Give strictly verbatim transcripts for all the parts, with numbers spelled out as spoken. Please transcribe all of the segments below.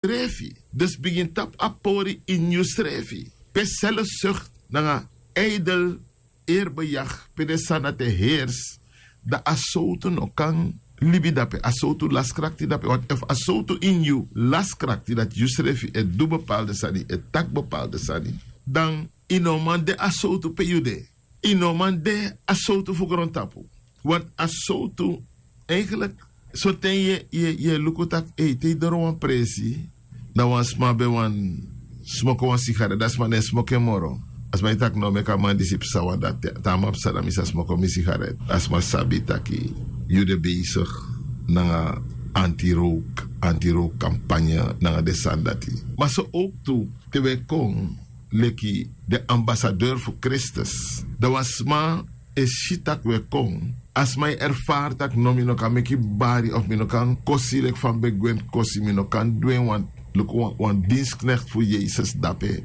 srefi. Dus bigin tapu a pori ini yusrefi pe selfsukt nanga ijdel, erbejag pe den sani dati e heersi, dan a sowtu no kan libi dape, a sowtu lasi krakti dape. Want efu a sowtu ini yu lasi krakti dati yusrefi e du bepaalde sani, e taki bepaalde sani, dan yu no man de a sowtu pe yu de. Yu no man de a sowtu fu grontapu. Want a sowtu, eigenlik, soten yu e luku tak' ei te yu doro wan presi, dan wan sma ben wani smoko wan sigaret, dan sma no e smoko en moro. A sma e taki no, meki a man disi psa wan dati, te a man psa dan mi sa smoko mi sigaret. A sma sabi tak' yu de besigi nanga anti-rowk, anti-rowk kampanye, nanga den sani dati. Ma so owktu te wi e kon leki den ambasadeur fu Kristus, dan wan sma e si tak' wi e kon. A sma e erfari tak' no, mi no kan meki bari of mi no kan kosi leki fa mi ben gwenti kosi, mi no kan du en wan, luku wan, wan dinsknekti fu Yesus dape.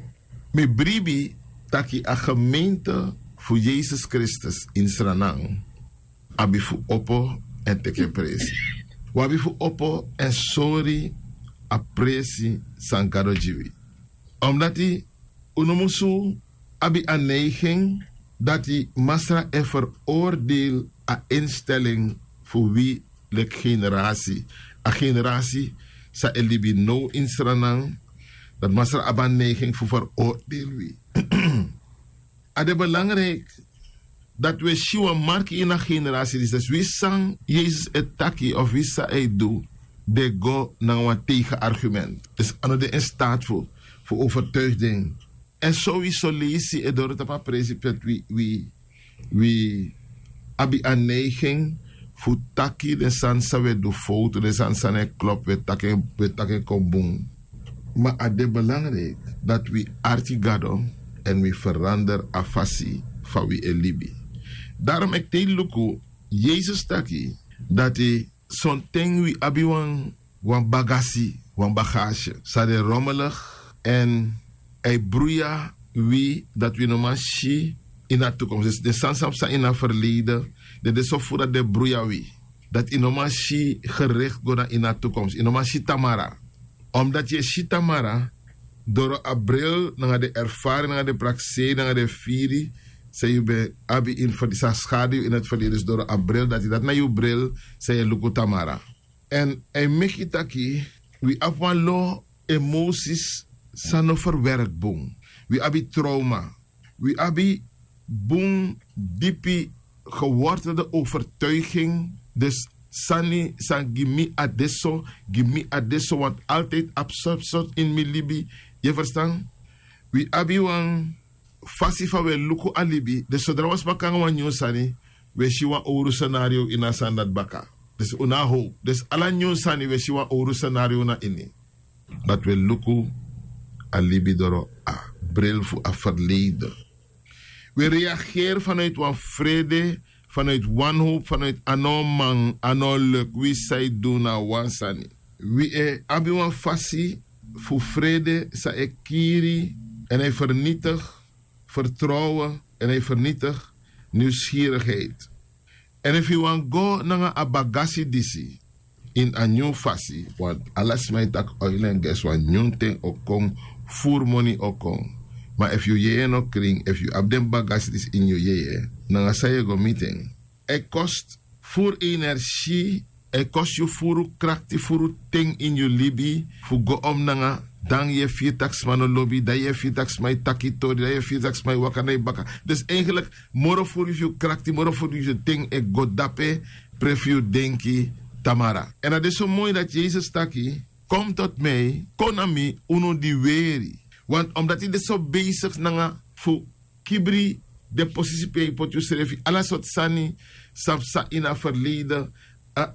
Mi bribi tak' a gemeente fu Yesus Kristus ini Sranan abi fu opo èn teki en presi. Wi abi fu opo èn sori a presi san Gado gi wi. Omdati un no musu abi a neiging dati Masra e veroordeel a instelling fu wi leki generasi, a generasi san e libi now ini Sranan, dati Masra abi a neiging fu veroordeel wi. A de belangrijk dati wi e si wan marki ini a generasi disi, dus wi san Yesus e taki of wi san a e du, den go nanga wan tegen argument. Dus a no de in staat fu, fu overtuigi den. Èn so wi soleisi e doro tapu a presi pe wi, wi, wi abi a neiging fu taki den sani san wi e du fowtu, den sani san no e klopu, wi e taki en, wi e taki en kon bun. Ma a de belangrijk dati wi arki Gado èn wi verander a fasi fa wi e libi. Daarom eki te yu luku, Yesus taki dati sonten wi abi wan, wan bagasi, wan bagasi san de rommelig èn a e bruya wi dati wi no man si ini a toekomst. Dus den sani san psa ini a verleden, den de so furu dati den bruya wi, dati yu no man si gerikti go na ini a toekomst, yu no man si tamara. Omdati yu e si tamara doro a bril nanga den erfari nanga den prakseri nanga den firi san yu ben abi ini verleden, san skadu yu ini a verleden, dus doro a bril dati, dati na yu bril san yu e luku tamara. Èn a e meki taki wi abi wan lo emosi san no verwerki bun. Wi abi trauma. Wi abi bun dipi gewortelde overtuiging. Dus sani san gi mi a de so, gi mi a de so, want altijd abi sortu sortu ini mi libi. Yu e ferstan? Wi abi wan fasi fa wi e luku a libi. Dus sodra wan sma kon nanga wan nyun sani, wi e si wan owru senario ini a sani dati baka. Dus un no abi howpu. Dus ala nyun sani wi e si wan owru senario na ini. Dati wi e luku a libi doro a bril fu a verleden. Wi e reageri vanuiti wan frede, vanuiti wanhowpu, vanuiti a no man, a no leki, wi san e du na wan sani. Wi e abi wan fasi fu frede san e kiri èn a e fernitigi vertrouwen èn a e fernitigi niwskirigheid. Èn efu yu wani go nanga a bagasi disi ini a nyun fasi, want ala sma e taki oil èn ges, wan nyun ten o kon, furu moni o kon. Ma efu yu yeye no krin, efu yu abi den bagasi disi ini yu yeye, nanga san yu e go miti en? A e kosi furu energi, a e kosi yu furu krakti, furu ten ini yu libi fu go om nanga. Dan yu e firi tak' sma no lobi, dan yu e firi tak' sma e taki tori, dan yu e firi tak' sma e waka na yu baka. Dus eigenlik moro furu fu yu krakti, moro furu fu yu ten e go dape pe fu yu denki tamara. Èn a de so moi dati Yesus taki: Kom tot mij, kon na mi, unu di weri. Want omdati yu de so besigi nanga fu kibri den posisi pe yu poti yusrefi, ala sortu sani san psa ini a verleden,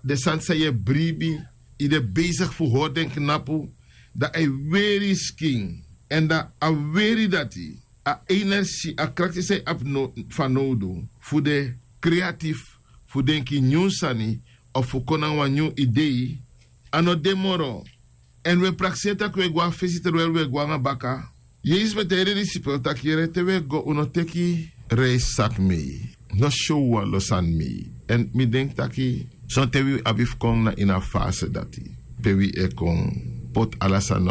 den sani san yu e bribi, yu de besigi fu hori den knapu, dan a e weri yu skin. Èn dan a weri dati, a energi, a krakti san yu abi fanowdu fu de kreatif, fu denki nyun sani, of fu kon nanga wan nyun idei, a no de moro. Èn wi e prakseri tak' wi e go na fesi, terwijl wi e go nanga baka. Yesus ben taigi den disipel taki: Yere, te wi e go, un no teki reissaki mei, no syow wan lo sani mei. Èn mi denki taki sonten wi abi fu kon na ini a fase dati, pe wi e kon poti ala sani na